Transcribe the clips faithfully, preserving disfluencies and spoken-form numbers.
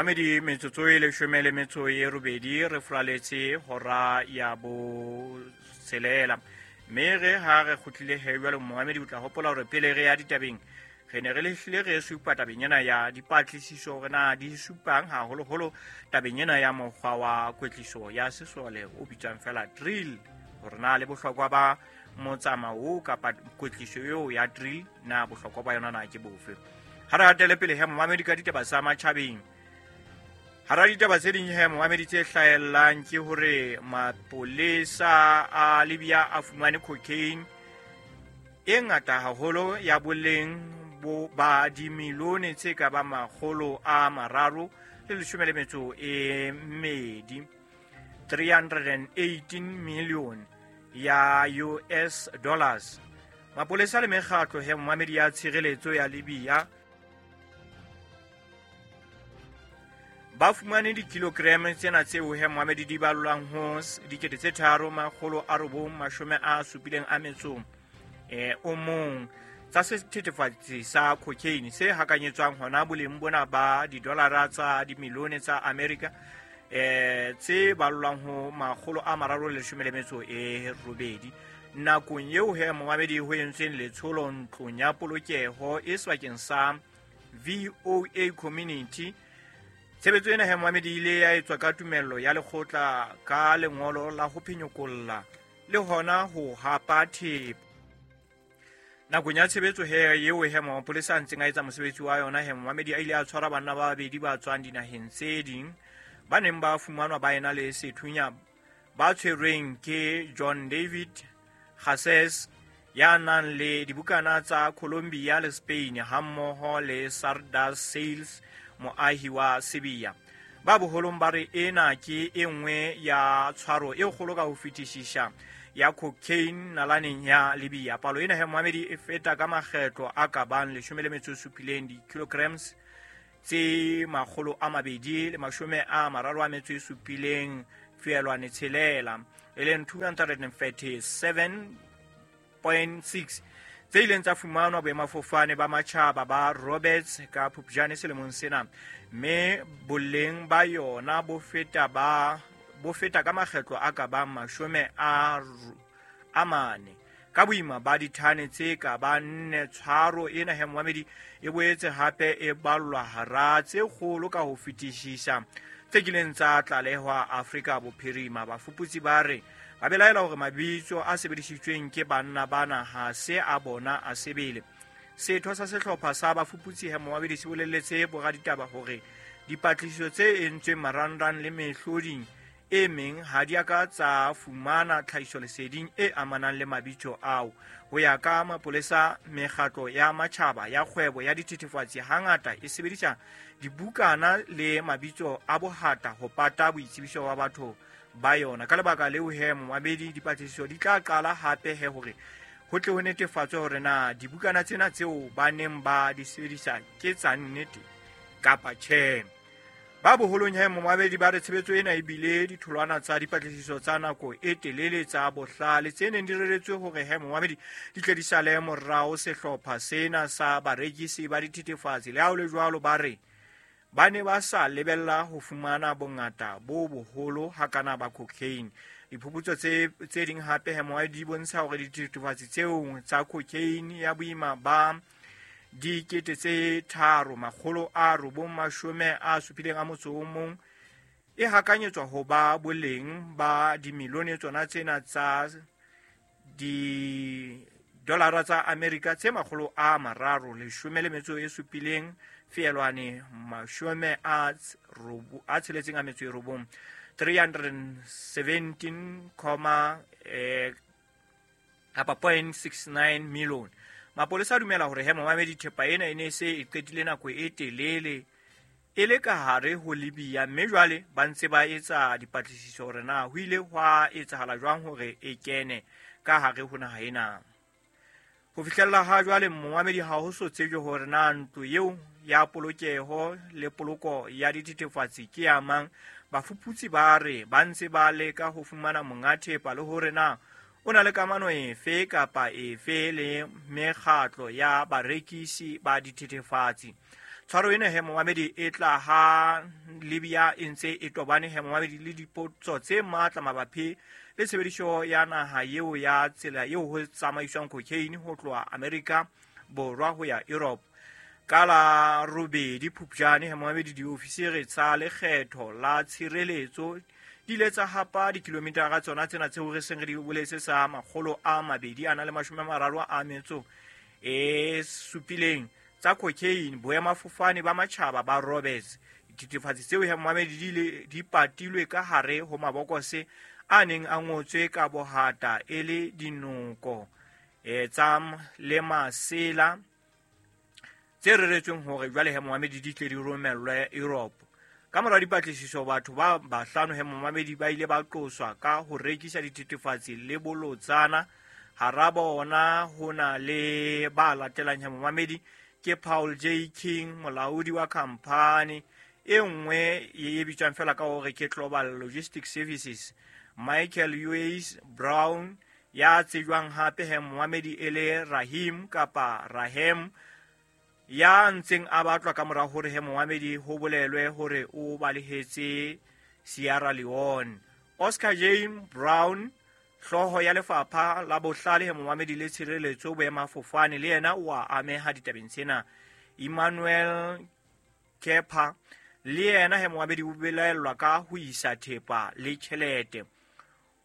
Mohamedi metsotso e leshome le metso e robedi re furaletse hora ya botshelela. Mme re ha re kgutlile he jwale Mohamedi o tla hopola hore pele re ya ditabeng re ne re lehlile re supa tabeng ena ya dipatlisiso hore na di supang haholoholo tabeng ena ya mokgwa wa kwetliso ya sesole o bitswang fela drill, hore na le bohlokwa ba motsamao kapa kwetliso eo ya drill na bohlokwa ba yona na ke bofe. Ha re hatele pele he Mohamedi ka ditaba tsa matjhabeng. Hara ditaba tse ding he Mohamedi tse hlahellang ke hore mapolesa a Libya a fumane cocaine e ngata haholo ya boleng bo ba dimilione tse ka ba makgolo a mararo le leshome le metso e mmedi, three hundred eighteen million ya U S dollars. Mapolesa le mekgatlo he Mohamedi ya tshireletso ya Libya ba fumane di-kilogram tsena tseo he Mohamedi di ballwang ho dikete tse tharo makgolo a robong mashome a supileng a metso eh o mong tsa sethethefatsi sa cocaine se hakanyetswang hona boleng bona ba didolara tsa dimilione tsa America eh tse ballwang ho makgolo a mararo le leshome le metso e robedi. Nakong eo he Mohamedi ho entsweng letsholo ntlong ya polokeho e sebakeng sa V O A Community. Tshebetso ena he Mohamedi ile ya etswa ka tumello ya lekgotla ka lengolo la ho phenyokolla le hona ho hapa thepa. Nakong ya tshebetso he eo he mapolesa a ntseng a etsa mosebetsi wa yona he Mohamedi a ile a tshwara banna ba babedi ba tswang dinaheng tse ding ba neng ba fumanwa ba ena le sethunya ba tshwerweng ke John David Garces ya nang le dibukana tsa Colombia le Spain hammoho le Sardar Sales moahi wa Serbia. Ba boholong ba re ena ke e nngwe ya tshwaro e kgolo ka ho fetisisa ya cocaine nalaneng ya Libya. Palo ena he Mohamedi e feta ka makgetlo a ka bang leshome le metso e supileng di-kilograms tse makgolo a mabedi le mashome a mararo a metso e supileng feelwane tshelela, e leng two hundred thirty-seven point six tse ileng tsa fumanwa boemafofane ba matjhaba ba Roberts ka Phupjane selemong sena, mme boleng ba yona bo feta ba bo feta ka makgetlo a ka bang mashome a a mane ka boima ba dithane tse ka ba nne. Tshwaro ena he Mohamedi e boetse hape e ballwa hara tse kgolo ka ho fetisisa tse kileng tsa tlalehwa Afrika Bophirima. Bafuputsi ba re ba belaela hore mabitso a sebedisitsweng ke banna bana ha se a bona a sebele. Setho sa sehlopha sa bafuputsi he Mohamedi se boleletse boraditaba hore dipatlisiso tse entsweng marangrang le mehloding e meng ha di a ka tsa fumana tlhahisoleseding e amanang le mabitso ao. Ho ya ka mapolesa, mekgatlo ya matjhaba ya kgwebo ya dithethefatsi hangata e sebedisa dibukana le mabitso a bohata ho pata boitsebiso ba batho ba yona. Ka lebaka leo he Mohamedi dipatlisiso di tla qala hape he hore ho tle ho netefatswe hore na dibukana tsena tseo ba neng ba di sebedisa ke tsa nnete kapa tjhe. Ba boholong he Mohamedi ba re tshebetso ena e bile ditholwana tsa dipatlisiso tsa nako e telele tsa bohlale tse neng di reretswe hore he Mohamedi di tle di sale morao sehlopha sena sa barekisi ba dithethefatsi. Le ha ho le jwalo ba re ba ne ba sa lebella ho fumana bongata bo boholo hakana ba cocaine. Diphuputso tse tse ding hape he Mohamedi di bontsha hore dithethefatsi tseo tsa cocaine ya boima ba dikete tse tharo makgolo a robong mashome a supileng a motso o mong e hakanyetswa ho ba boleng ba dimilione tsona tsena tsa di-dollara tsa Amerika tse makgolo a mararo leshome le metso e supileng feelwane mashome a a tsheletseng a metso e robong, three hundred seventeen comma eh kapa point six nine million. Mapolesa a dumela hore he Mohamedi thepa ena e ne se e qetile nako e telele e le ka hare ho Libya, mme jwale ba ntse ba etsa dipatlisiso hore na ho ile hwa etsahala jwang hore e kene ka hare ho naha ena. Ho fihlella ha jwale Mohamedi ha ho so tsejwe hore na ntlo eo ya polokeho le poloko ya dithethefatsi ke ya mang. Bafuputsi ba re ba ntse ba leka ho fumana monga thepa le hore na o na le kamano efe kapa efe le mekgatlo ya barekisi ba dithethefatsi. Tshwaro ena he momamedi e tla ha Libya e ntse e tobane he momamedi le dipotso tse matla mabapi le tshebediso ya naha eo ya tsela eo ho tsamaiswang cocaine ho tloha Amerika Borwa ho ya Europe. Ka la robedi Phupjane he momamedi diofisiri tsa lekgetho la tshireletso di ile tsa hapa dikilometara tsona tsena tseo re seng re di boletse sa makgolo a mabedi a na le mashome a mararo a metso e supileng tsa cocaine boemafofane ba matjhaba ba Roberts. Dithethefatsi tseo he momamedi di ile di patilwe ka hare ho mabokose a neng a ngotswe ka bohata e le dinoko e tsa le masela tse reretsweng hore jwale he momamedi di tle di romellwe Europe. Ka mora dipatlisiso batho ba bahlano he momamedi ba ile ba qoswa ka ho rekisa dithethefatsi le bolotsana. Hara bona ho na le ba latelang he momamedi ke Paul J King, molaodi wa khampani e nngwe e bitswang fela ka hore ke Global Logistics Services, Michael Uwais Brown ya tsejwang hape he momamedi e le Rahim kapa Rahem ya ntseng a batlwa ka mora hore he momamedi ho bolelwe hore o balehetse Sierra Leone. Oscar Jane Brown, hlooho ya lefapha la bohlale he momamedi le tshireletso boemafofane, le yena o a ameha ditabeng tsena. Emmanuel Kepa le yena he momamedi o belaellwa ka ho isa thepa le tjhelete.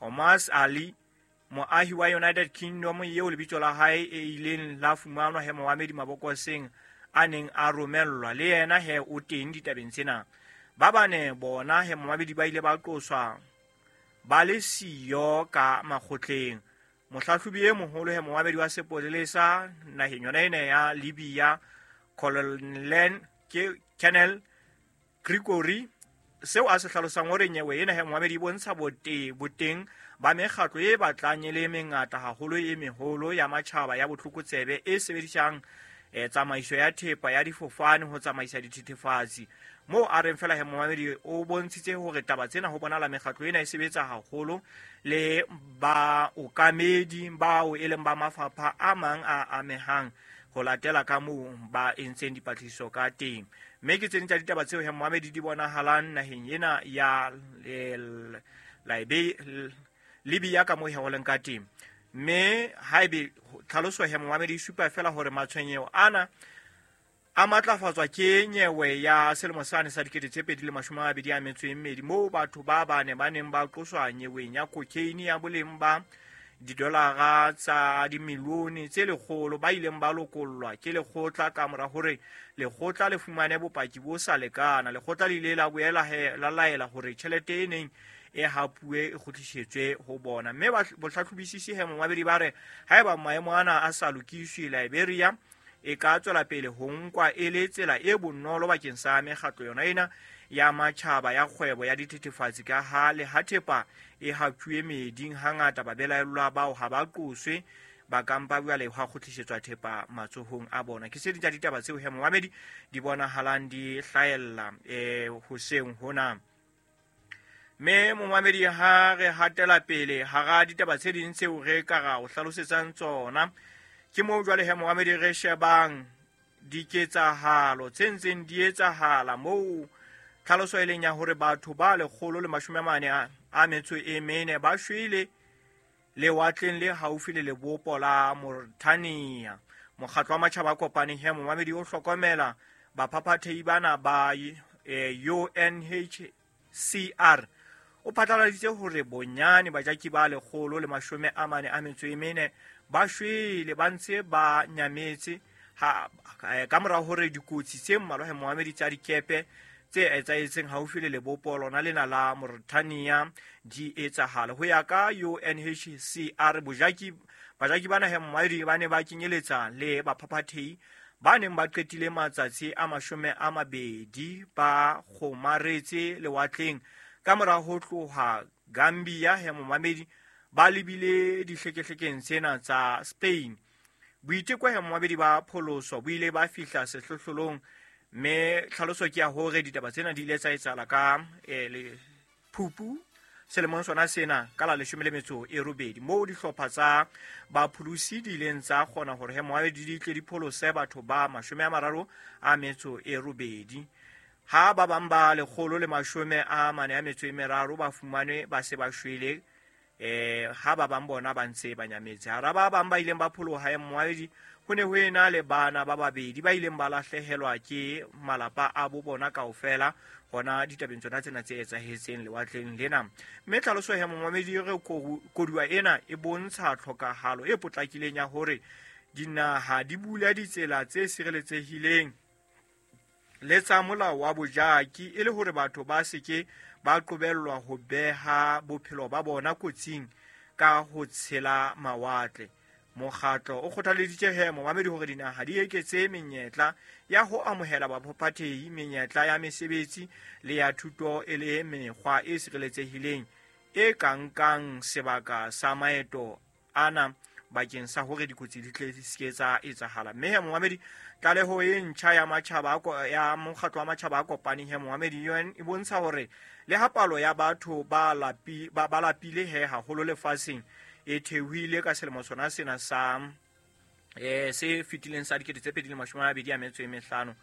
Omas Ali, moahi wa United Kingdom eo lebitso la hae e ileng la fumanwa he momamedi mabokoseng a neng a romellwa, le yena he o teng ditabeng tsena. Ba bane bona he momamedi ba ile ba qoswa ba le siyo ka makgotleng. Mohlahlobi e moholo he momamedi wa sepolesa naheng yona ena ya Libya, Colonel ke Colonel Gregory, seo a se hlalosang hore nyewe ena he momamedi e bontsha bote boteng ba mekgatlo e batlang e le mengata haholo e meholo ya matjhaba ya botlokotsebe e sebedisang e tsamaiso ya thepa ya difofane ho tsamaisa dithethefatsi. Moo a reng fela he momamedi o bontshitse hore taba tsena ho bonala mekgatlo ena e sebetsa haholo le ba okamedi bao e leng ba mafapha a mang a amehang ho latela ka moo ba entseng dipatlisiso ka teng. Mme ke tse ding tsa ditaba tseo he momamedi di bonahalang naheng ena ya Libya ka moo he ho leng ka teng. Mme haebe tlhaloso he momamedi e supa fela hore matshwenyeho ana a matlafatswa ke nyewe ya selemo sane sa dikete tse pedi le mashome a mabedi a metso e mmedi moo batho ba bane ba neng ba qoswa nyeweng ya cocaine ya boleng ba didolara tsa dimilione tse lekgolo ba ileng ba lokollwa ke lekgotla ka mora hore lekgotla le fumane bopaki bo sa lekana. Lekgotla le ile la boela he la laela hore tjhelete e neng e hapuwe e kgutlisetswe ho bona. Mme bohlahlobisisi he momamedi ba re haeba maemo ana a sa lokiswe, Liberia e ka tswela pele ho nkwa e le tsela e bonolo bakeng sa mekgatlo yona ena ya matjhaba ya kgwebo ya dithethefatsi, ka ha le ha thepa e haptjuwe meeding hangata babelaellwa bao ha ba qoswe, ba kampa jwale hwa kgutlisetswa thepa matsohong a bona. Ke se ding tsa ditaba tseo he momamedi di bonahalang di hlahella eh hoseng hona. Mme momamedi ha re hatela pele hara ditaba tse ding tseo re ka ra o hlalosetsang tsona, ke moo jwale he momamedi re shebang diketsahalo tse ntseng di etsahala moo tlhaloso e leng ya hore batho ba lekgolo le mashome a mane a metso e mene ba shwele lewatleng le haufi le lebopo la Mauritania. Mokgatlo wa Matjhaba a Kopaneng he momamedi o hlokomela baphaphathehi bana ba U N H C R o phatlaladitse hore bonyane bajaki ba lekgolo le mashome a mane a metso e mene ba shwele ba ntse ba nyametse ha ka mora hore dikotsi tse mmalwa he momamedi tsa dikepe tse etsahetseng haufi le lebopo lona lena la Mauritania di etsahala. Ho ya ka U N H C R, bojaki bajaki bana he momamedi ba ne ba kenyeletsa le baphaphathehi ba neng ba qetile matsatsi a mashome a mabedi ba kgomaretse lewatleng ka mora ho tloha Gambia he momamedi ba lebile dihlekehlekeng tsena tsa Spain. Boiteko he momamedi ba pholoso bo ile ba fihla sehlohlolong, mme tlhaloso ke ya hore ditaba tsena di ile tsa etsahala ka eh, le Phupu selemong sona sena ka la leshome le metso e robedi moo dihlopha tsa bapholosi di ileng tsa kgona hore he moamedi di tle di pholose batho ba mashome a mararo a metso e robedi. Ha ba bang ba lekgolo le mashome a mane a metso e meraro ba fumanwe ba se ba shwele, eh ha ba bang bona ba ntse ba nyametse. Hara ba bang ba ileng ba pholoha he moamedi ho ne ho ena le bana ba babedi ba ileng ba lahlehelwa ke malapa a bo bona kaofela hona ditabeng tsona tsena tse etsahetseng lewatleng lena. Mme tlhaloso ya momamedi re koduwa ena e bontsha tlhokahalo e potlakileng ya hore dinaha di bula ditsela tse sireletsehileng le tsa molao wa bojaki e le hore batho ba se ke ba qobellwa ho beha bophelo ba bona kotsing ka ho tshela mawatle. Mokgatlo o kgothaleditse he momamedi hore dinaha di eketse menyetla ya ho amohela baphaphathehi, menyetla ya mesebetsi le ya thuto e le mekgwa e sireletsehileng e ka nkang sebaka sa maeto ana bakeng sa hore dikotsi di tle di se ke tsa etsahala. Mme he momamedi tlaleho e ntjha ya matjhaba ya mokgatlo wa matjhaba a kopaneng he momamedi U N e bontsha hore le ha palo ya batho ba lapi ba ba lapile he haholo lefatsheng e theohile ka selemo sona sena sa eh se fetileng sa dikete tse pedi le mashome a mabedi a metso e mehlano.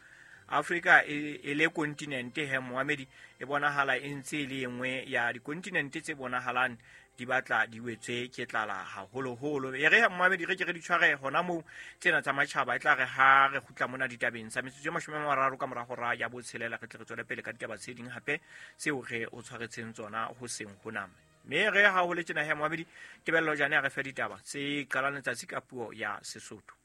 Afrika e, e le kontinente he moamedi e bonahala e ntse e le engwe ya dikontinente tse bonahalang di batla di wetswe ke tlala haholoholo. E re moamedi re ke re di tshware hona moo tsena tsa matjhaba, e tla re ha re kgutla mona ditabeng tsa metsotso e mashome a mararo ka mora hora ya botshelela re tle re tswele pele ka ditaba tse ding hape tseo re o tshwaretseng tsona hoseng hona. Mme re ha ho le tjena he moamedi Tebello Jane a re fe ditaba tse qalang letsatsi ka puo ya Sesotho.